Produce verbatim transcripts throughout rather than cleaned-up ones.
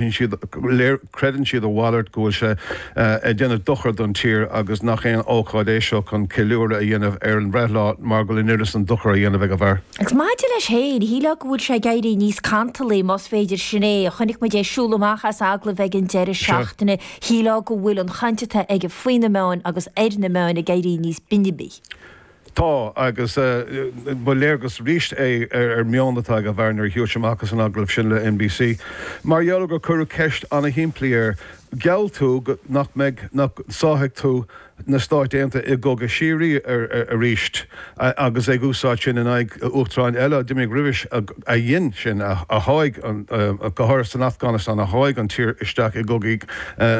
Siad creideann siad a mhalairt go bhfuil sé ag déanamh dochar don tír agus nach aon ócáid é seo chun ceiliúradh a dhéanamh ar an bhreithlá mar go bhfuil an oiread san dochar á dhéanamh ag an bhfear. Agus maidir leis féin, shílfeá go bhfuil sé ag éirí níos cantalaí más féidir sin é. Chonaic muid é ag siúl amach as agallamh ag an deireadh seachtaine. Shílfeá go bhfuil an chaint atá aige faoi na meáin agus ar na meáin ag éirí níos binbí. Tá agus ba léargas arís é ar ar meon atá ag an bhfear nuair a shiúil sé amach as an agallamh sin le NBC. Mar gheall gur cuireadh ceist an-shimplí air, geall tú nach mbeidh nach sáfaidh tú na Stáit Aontaithe i gcogadh síoraí arís agus ag úsáid sin in aghaidh uachtaráin eile a d'imigh roimhe a dhein sin a sháigh go háirithe san Afganastáin a sháigh an tír isteach i gcogaí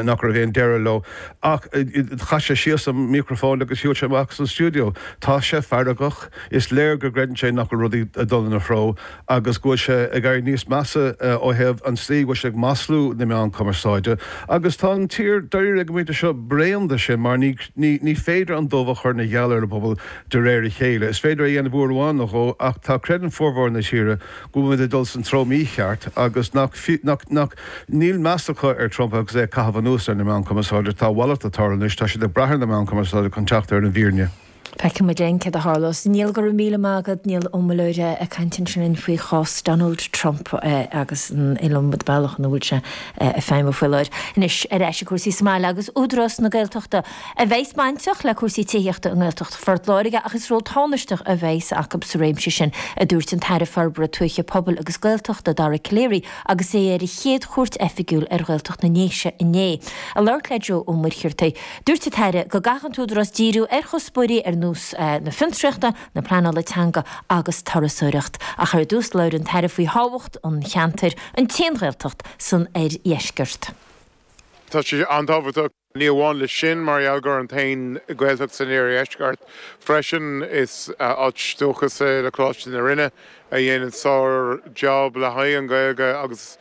nach raibh aon deireadh leo. Ach chaith sé síos an micreafón agus shiúil sé amach as an stiúideo. Tá sé feargach, is léir go gcreideann sé nach bhfuil rudaí ag dul ina threo agus go bhfuil sé ag éirí níos measa ó thaobh an tslí go bhfuil sé ag maslú na meán cumarsáide. Agus tá an tír dáiríre ag an bpointe seo bréan de sin mar ní ní féidir an dubh a chur ina gheal ar an bpobal de réir a chéile. Is féidir a dhéanamh uair amháin nó dhó ach tá creideann formhór na tíre go bhfuil muid ag dul san treo mícheart agus nach nach nach níl meas acu ar Trump agus é ag caitheamh anuas ar na meáin chumarsáide tá a mhalairt ag tarlú anois tá siad ag brath ar na meáin chumarsáide chun teacht ar an bhfírinne. Feicfidh muid linn céard a tharlós. Niall go raibh míle maith agat Niall Ó Muilleoir ag caint ansin faoi chás Donald Trump agus an iliomad bealach ina bhfuil sé ag feidhmiú faoi láthair. Anois ar ais i gcúrsaí sa mbaile agus Údarás na Gaeltachta a bheas bainteach le cúrsaí tithíochta i nGaeltacht Phort Láirge ach is ról tánaisteach a bheas acu sa réimse sin a dúirt an tAire Forbartha Tuaithe Pobail agus Gaeltachta Dara Calleary agus é ar a chéad chuairt oifigiúil ar Ghaeltacht na nDéise inné. Ag labhairt le Joe Ó Muircheartaigh. Dúirt an tAire go gcaithfidh an tÚdarás díriú ar chuspóirí ar nós na fiontraíochta, na pleanála teanga agus turasóireacht. Ach ar dtús labhair an tAire faoi thábhacht an cheantair, an t-aon Ghaeltacht san oirdheisceart. Tá sé an-tábhachtach ní amháin le sin mar gheall gur an t-aon Ghaeltacht san iardheisceart. Freisin is áit dúchas le Coláiste na Rinne a dhéanann sár-job le haghaidh an Ghaeilge agus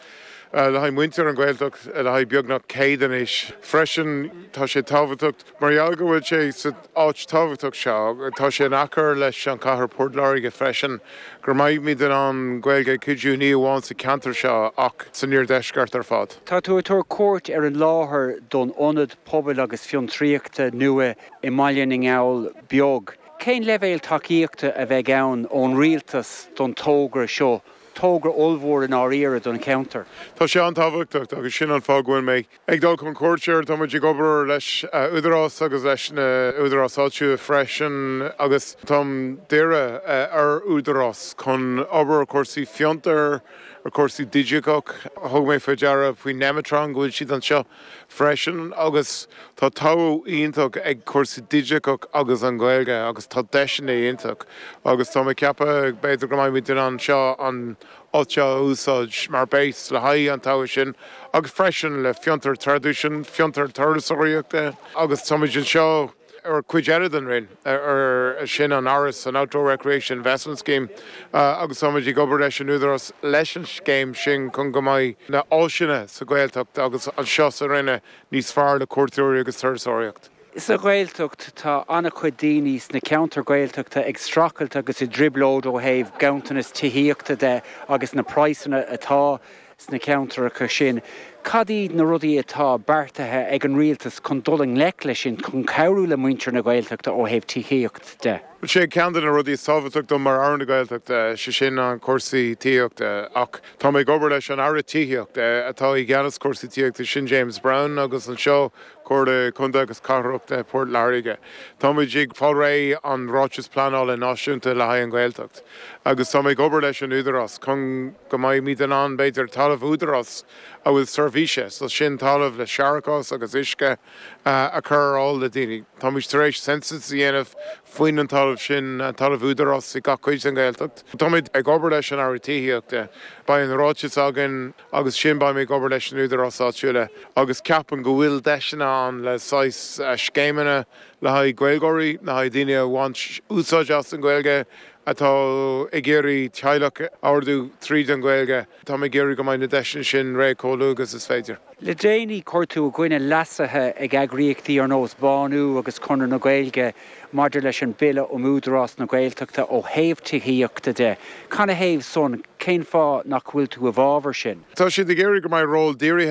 le haghaidh muintir an Ghaeltacht le haghaidh beagnach céad anois. Freisin tá sé tábhachtach mar gheall go bhfuil sé sa áit tábhachtach seo, tá sé in aice leis an chathair Port Láirge freisin go mbeimid in ann Gaeilge ag cuidiú ní amháin sa ceantar seo ach san iardheisceart ar fad. Tá tú ag tabhairt cuairt ar an láthair don ionad pobail agus fiontraíochta nua i mBaile na nGall Beag. Cén leibhéal tacaíochta a bheidh ann ón rialtas don togra seo togra ollmhór i ndáiríre don cheantar. Tá sé an-tábhachtach agus sin an fáth go bhfuil mé ag dul chun cuairte tá muid ag obair leis údarás agus leis na údaráis áitiúla freisin agus táim dírithe ar údarás chun obair cúrsaí fiontar ar cúrsaí digiteach thug mé faoi deara faoi Nemetron go bhfuil siad anseo freisin agus tá tábhacht iontach ag cúrsaí digiteach agus an Ghaeilge agus tá deiseanna iontach agus tá mé ag ceapadh b'fhéidir go mbeimid in ann seo an áit a úsáid mar base le haghaidh an togra sin agus freisin le fiontar traidisiún, fiontar turasóireachta agus táimid anseo ar cuid eile den Roinn ar sin an Áras an Outdoor Recreation Investment Scheme agus táimid ag obair leis an údarás leis an scéim sin chun go mbeidh na háiseanna sa Ghaeltacht agus anseo sa Rinne níos fearr le cuairteoirí agus turasóireacht. Sa Ghaeltacht tá an-chuid daoine sna ceantair Ghaeltachta ag streachailt agus i dtrioblóid ó thaobh ganntanas tithíochta de agus na praghsanna atá sna ceantracha sin. Cad iad na rudaí atá beartaithe ag an rialtas chun dul i ngleic leis sin chun cabhrú le muintir na Gaeltachta ó thaobh tithíocht de. Sé ceann de na rudaí is tábhachtaí dom mar Aire na Gaeltachta sé sin an cúrsaí tithíochta ach tá mé ag obair leis an Aire Tithíochta atá i gceannas cúrsaí tithíochta sin James Browne agus anseo Comhairle Contae agus Cathrach Port Láirge. Táimid ag fáil réidh an ráiteas pleanála náisiúnta le haghaidh an Ghaeltacht agus tá mé ag obair leis an údarás chun go mbeimid in ann b'fhéidir talamh údarás a bhfuil seirbhíse, so sin talamh le séarachas agus uisce a chur ar fáil le daoine. Táimid tar éis census a dhéanamh faoin an talamh sin an talamh údarás i gach cuid den Ghaeltacht. Táimid ag obair leis an Aire Tithíochta, Beidh an ráiteas againn agus sin beidh mé ag obair leis an údarás áitiúla agus ceapaim go bhfuil deiseanna ann le saghas scéimeanna le haghaidh Gaeilgeoirí, le haghaidh daoine a bhaint úsáid as an Ghaeilge a atá ag iarraidh teaghlach a ardú tríd an Ghaeilge, tá ag iarraidh go mbeidh na deiseanna sin réidh chomh luath agus is féidir. Le déanaí chuir tú i gcoinne leasuithe ag eagraíochtaí ar nós Bánú agus Conradh na Gaeilge maidir leis an bille um Údarás na Gaeltachta ó thaobh tithíochta de. Canathaobh san cén fáth nach bhfuil tú i bhfabhar sin. Tá siad ag iarraidh go mbeidh ról dírithe